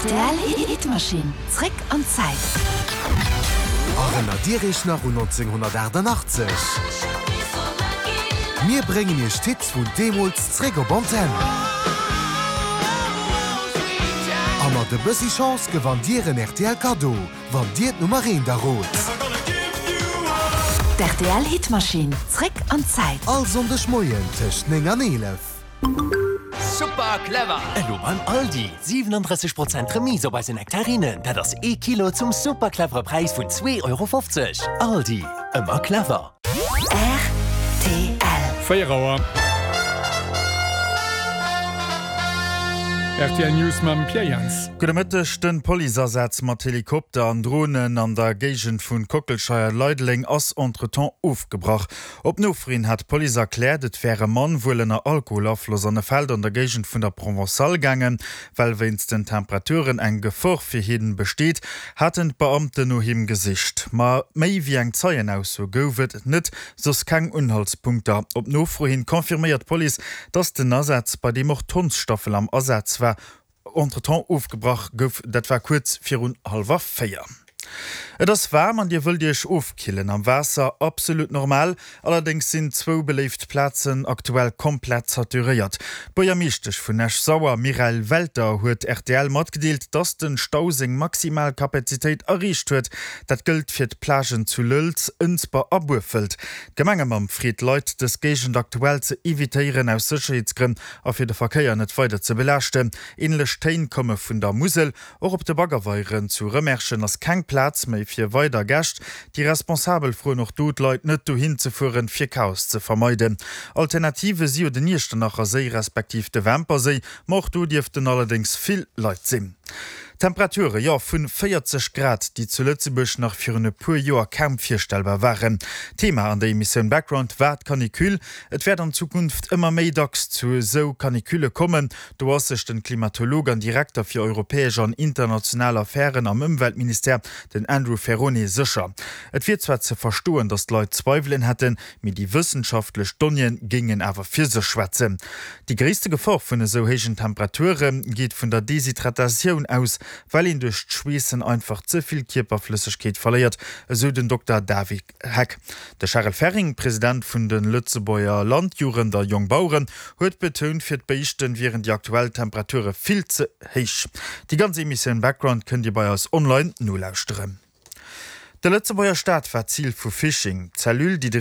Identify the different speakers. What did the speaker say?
Speaker 1: Rtl Hitmaschinn, zréck an d'Zäit.
Speaker 2: Erënnert Dir Iech nach un 1988? Mir bréngen Iech d'Hits vun deemools zréck op Antenn. A mat e bëssi Chance gewannt Dir en rtl Kaddo, wann Dir d'Nummer eent errot.
Speaker 1: D'RTL Hitmaschinn, zréck an d'Zäit.
Speaker 2: All Sonndeg Moien tëscht 9 an 11.
Speaker 3: Super clever!
Speaker 4: Elo beim Aldi, 37 Prozent Remise op eise Nektarinen, dat ass ee Kilo zum super clevere Präis vun 2,50 Euro. Aldi, ëmmer clever!
Speaker 1: Rtl.
Speaker 5: 4 Auer. Rtl News mam Pierre Jans.
Speaker 6: Gudde Mëtteg, Den Policeasaz mat Helikopter an Dronen an der Géigend vun Kockelscheier-Leideleng ass entretemps ofgebrach. Op Nofro hin hat d'Police erkläert, et wär e Mann, wuel ënner Alkoholafloss, an e Feld an der Géigend vun der Provençale gaangen. Well wéinst den Temperaturen eng Gefor fir hien besteet, haten d'Beamten no him gesicht. Ma méi wéi eng Zeienausso gouf et net, soss keng Unhaltspunkter. Op Nofro hin confirméiert d'Police, dass den Asaz, bei deem och d'Hondsstaffel am Asaz war, Entretemps ofgebrach gouf. Dat war kuerz virun hallwer 4. Et ass waarm an dir wëllt iech ofkillen am Waasser? Absolut normal. Allerdéngs sinn zwou beléift Plazen aktuell komplett saturéiert. D'Buergermeeschtesch vun Esch-Sauer, Mireille Welter, huet rtl matgedeelt, dass den Stau seng maximal Kapazitéit erreecht huet. Dat gëllt fir d'Plagen zu Lëlz, Ënsber a Burfelt. D'Gemengemamm freet d'Leit, dës Géigend aktuell ze evitéieren, aus Sécherheetsgrënn A fir de Verkéier net weider ze belaaschten. Änlech Téin komme vun der Musel. Och op de Baggerweieren zu Rëmerschen ass keng Plaz méi fir weider Gäscht. Déi Responsabel froen och do d'Leit net dohin ze fueren, fir Chaos ze vermeiden. Alternative si jo den Iechternacher Séi respektiv de Wämper Séi, ma och do dierften allerdéngs vill Leit sinn. Temperature, jo vun 40 Grad, déi zu Lëtzebuerg nach virun e puer Joer kaum virstellbar waren. Thema an der Emissioun Background war d'Canicule. Et wäert an Zukunft ëmmer méi dacks zu esou Canicule kommen. Do ass sech den Klimatolog an Direkter fir europäesch an international Affären am Ëmweltministère, den Andrew Ferrone, sécher. Et wier zwar ze verstoen, datt d'Leit Zweiwelen hätten, mee déi wëssenschaftlech Donnéeë géingen awer fir sech schwätzen. Déi gréisste Gefor vun esou héijen Temperature geet vun der Deshydratatioun aus, well een duerch d'Schweessen einfach ze vill Kierperflëssegkeet verléiert, esou den Dokter David Heck. De Charel Ferring, President vun de Lëtzebuerger Landjugend a Jongbaueren, huet betount, fir d'Béischten wieren déi aktuell Temperature vill ze héich. Déi ganz Emissioun Background kënnt Dir bei eis online nolauschteren. De Lëtzebuerger Staat war Zil vu Phishing. D'Cellule, déi de.